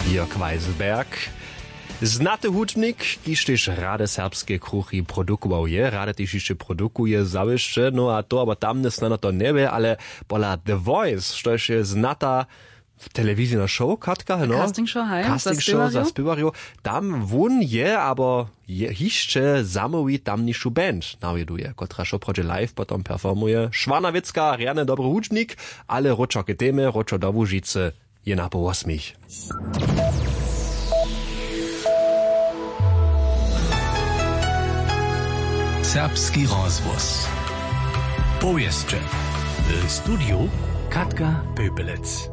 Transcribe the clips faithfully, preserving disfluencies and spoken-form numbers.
Jörg Weiselberg, znaty hudźbnik, kiž tež rady serbske kruchi produkował je, rady tež hišće produkuje zawěsće, no a to abo tamne snano to njewě, ale pola The Voice, štož je znata telewizijna show, Katka, no? Casting show, haj, za spěwarjow. Tam wón je abo je hišće zamołwi tamnišu band nawjeduje, kotraž woprawdźe live potom performuje. Šwarna wěcka, rjany dobry hudźbnik, ale wróćo k temje, wróćo do Łužicy, je na poł wosmich. Serbski rozhłos. Powěsće. W studiju Katka Pöpelec.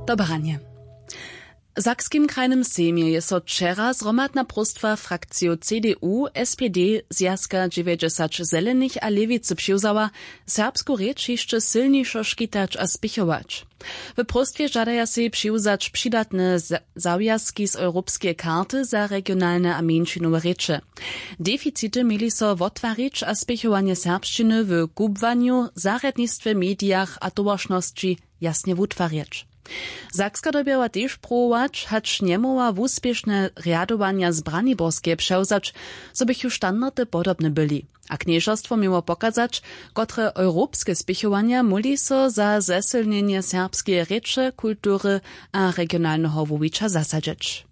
Dobranje. W Sakskim krajnym sejmje je so wčera zhromadna próstwa frakcijow C D U, S P D, Zwjazka dźewjećdźesać Zelenych a Lěwicy přiwzała, serbsku rěč hišće sylnišo škitać a spěchować. W próstwje žadaja sej přiwzać přidatne za- zawjazki z europskeje karty za regionalne a mjeńšinowe rěče. Deficity měli so wottwarić a spěchowanje serbšćiny w kubłanju, zarjadnistwje, medijach a towaršnosći jasnje wutwarjeć. Sakska dyrbjała tež prowować, hač njemóhła wuspěšne rjadowanja z Braniborskeje přewzać, zo běchu standardy podobne byli. A knježerstwo měło pokazać, kotre europske spěchowanja móhli so za zesylnjenje serbskeje rěče, kultury a regionalneho wuwića zasadźeć.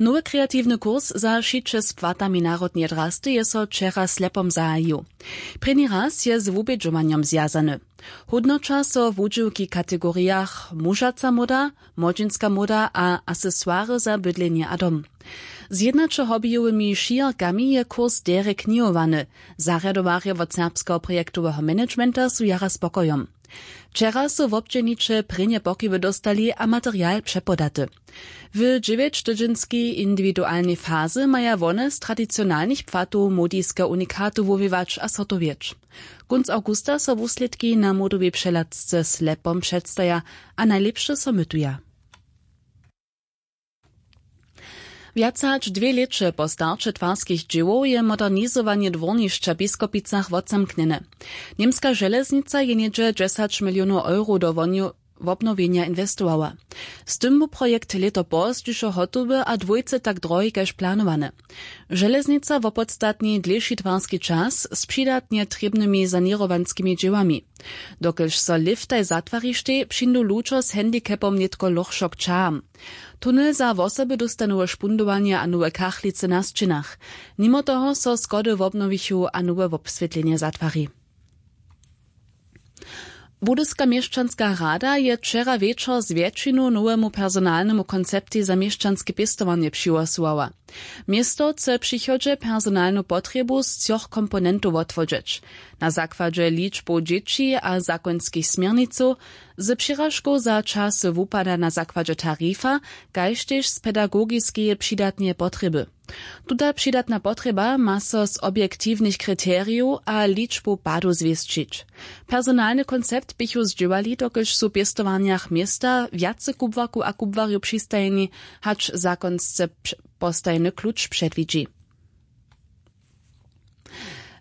Nowy kreatiwny kurs za šiće z płatami narodneje drasty je so wčera slepom zahajił. Prěni raz je z wubědźowanjom zwjazany. Hódnoća so wudźěłki w kategorijach mužaca móda, młodźinska móda a asesoiry za bydlenje a dom. Z jědnaćehobijowymi šijorkami je kurs derje knihowany. Zarjadowarjo wot serbskeho projektoweho managementa su jara spokojom. Wčera su wobdźělniće prěnje pokiwy dóstali a material přepodaty. W dźewjećtydźenskej indiwidualnej fazy maja wone z tradicionalnych płatow młodiskeho unikatu wuwiwać a zhotowjeć. Kónc awgusta so wuslědki na młodowej přehladce slepom předstaja a najlěpše so mytuja. Wjace hač dwě lěće po starće twarskich dźěłow je modernizowanje dwórnišća w Biskopicach wotzamknjene. Němska železnica je něhdźe dźesać milionow euro do wonju- wobnowjenja inwestowała. Z tym bu projekt lěto pozdźišo hotowy a dwójce tak drohi kaž planowany. Železnica wopodstatni dlěši twarski čas z přidatnje trěbnymi saněrowanskimi dźěłami. Dokelž so lěftaj zatwarištej, přińdu ludźo z handicapom nětko lochšo k ćaham. Tunel za wosoby dósta nowe špundowanje a nowe kachlicy na sćěnach. Nimo toho so schody wobnowichu a nowe wobswětlenje zatwari. Budyska měšćanska rada je wčera wječor z wjetšinu nowemu personalnemu konceptej za měšćanske pěstowanje přihłosowała. Město chce w přichodźe personalnu potrjebu z třoch komponentow wotwodźeć: na zakładźe ličbow dźěći a zakonskich směrnicow, z přiražkow za časy wupada na zakładźe tarifa, kaž tež z pedagogiskeje přidatneje potrjeby. Tuta přidatna potrjeba ma so z objektiwnych kriterijow a ličbow padow zwěsćić. Personalny koncept běchu zdźěłali, dokelž su w pěstowarnjach města wjace kubłarkow a kubłarjow přistajeni, hač zakonsce pš- postajeny kluč předwidźi.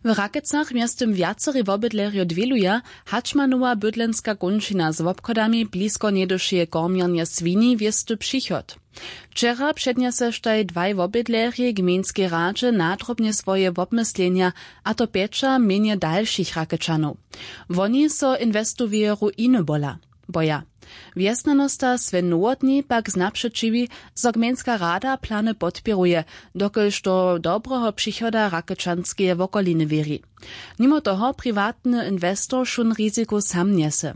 W Rakecach mjeztym wjacerej wobydlerjo dwěluja, hač ma nowa bydlenska kónčina z wobchodami blisko njedušeje kormjernje swini wěsty přichod. Wčera přednjeseštej dwaj wobydlerjej gmejnskej radźe nadrobnje swoje wobmyslenja, a to pjeća mjenje dalšich Rakečanow. Woni so inwestoweje ruiny bola. Boja. Wjesnjanosta Sven Nowotny pak znapřećiwi, zo gmejnska rada plany podpěruje, dokelž do dobreho přichoda Rakečanskeje wokoliny wěri. Nimo toho priwatny inwestor wšón riziko sam njese.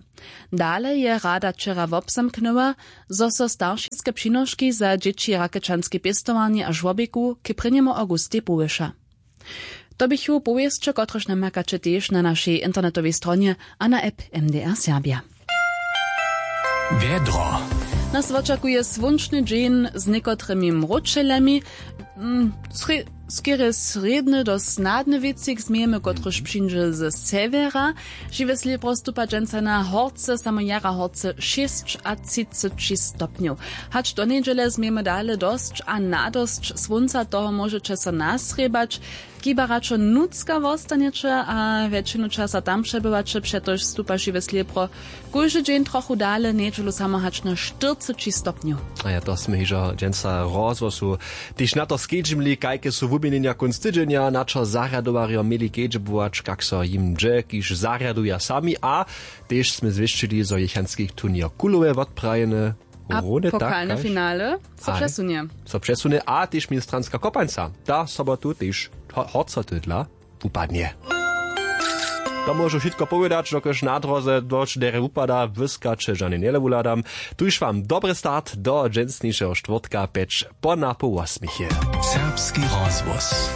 Dale je rada wčera wobzamknyła, zo so staršiske přinoški za dźěći Rakečanske pěstowarnje a žłobikow k prěnjemu awgustej powyša. To běchu powěsće, kotrež namakaće tež na našej internetowej stronje a na app M D R Serbia. Wjedro. Nas wočakuje słónčny dźeń z někotrymi mróčelemi. Mm, srě- Skerje srjedny do snadny wěcik změjemy kotryž přińdźe ze sewjera. Žiwe slěbro stupa dźensa na horce samo jara horce šěsćatřiceći stopnjow. Hač do njedźele změjemy dale dosć a nadosć słónca toho móžeće so nasrěbać. Kiba radšo nutřka wostanjeće a wjetšinu časa tam přebywaće přetož stupa žiwe slěbro kóždy dźeń trochu dale njedźelu samo hač na štyrceći stopnjow. A ja to smy hižo dźensa rozhłosu tež na to skedźimli kajke su wuměnjenja kónc tydźenja na čo zarjadowarjo měli kedźbować kak so jim dźe kiž zarjaduja sami a tež smy zwěsćili zo jechanski turněr kulowe wotprajeny. A pokalne finale so přesunje. So přesunje a tež ministranska kopańca ta sobotu tež horcoty dla wupadnje. To móžu wšitko powědać dokelž na dróze dosć derje wupada wyskaće žane njele wuhladam. Tuž wam dobry start do dźensnišeho štwórtka pjeć po napoł wosmich je. Serbski rozhłos.